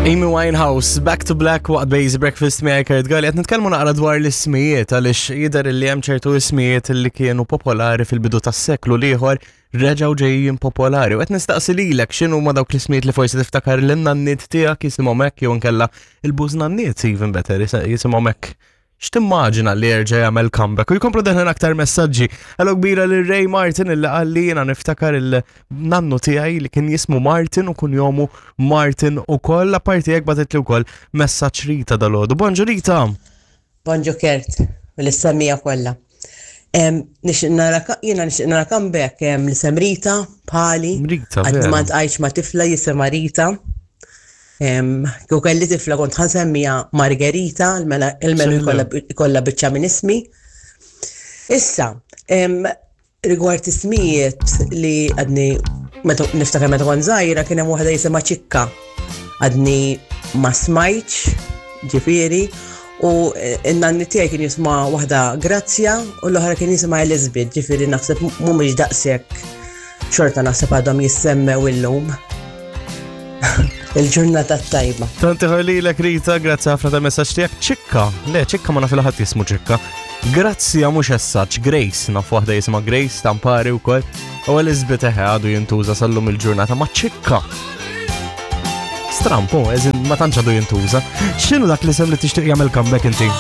Amy Winehouse, Back to Black waqt Base Breakfast miegħi Kurt Galli qed nitkellmu naqra dwar l-ismijiet għaliex jidher li hemm ċertu ismijiet li kienu popolari fil-bidu tas-seklu l-ieħor reġgħu ġejjin popolari. U qed nistaqsi lilek x'inhu ma dawk l-ismijiet li forsi tiftakar lin-nanniet tiegħek jisimhom hekk jew inkella il-bużnanniet even better jisimhom hekk. X'timmaġina li jerġa' jagħmel comeback u jkomplu deħlin aktar messaġġi. Hello kbira lil Ray Martin illi qal li jiena niftakar il-nannu tiegħi li kien jismu Martin u kunjomu Martin ukoll apparti hekk bagħtitli wkoll messaġġ Rita dalgħodu. Bonġu Rita! Bonġu Kurt, l-semmija kollha. Nixtieq nara jiena nixtieq nara comeback l-isem Rita bħali. Rita, Għadni ma ltqajtx ma' tifla jisimha Rita. Kieku kelli tifla kont ħa nsemmiha Margherita, il-menu jkollha biċċa minn ismi. Issa, rigward ismijiet li għadni niftakar meta kont żgħira kien hemm waħda jisimha Ċikka. Għadni ma smajtx, ġifieri, u n-nanni tiegħi kien jisma' waħda Grazzja u l-oħra kien jisimha Elizabeth, ġifieri naħseb mhumiex daqshekk xorta naħseb għadhom jissemmew illum. Il-ġurnata tajba. Tanti ħarlilek Rita, grazzi ħafna ta' messaġġ tiegħek. Ċikka, le ċikka ma naf ħadd jismu ċikka. Grazzja mhux essaċ, Grace, naf waħda jisimha Grace, tampari wkoll. U Elizabeth eħe għadu jintuża sallum il-ġurnata ma' ċikka. Strampu, eżin ma tantx għadu jintuża. X'inhu dak l-isem li tixtieq jagħmel comeback inti?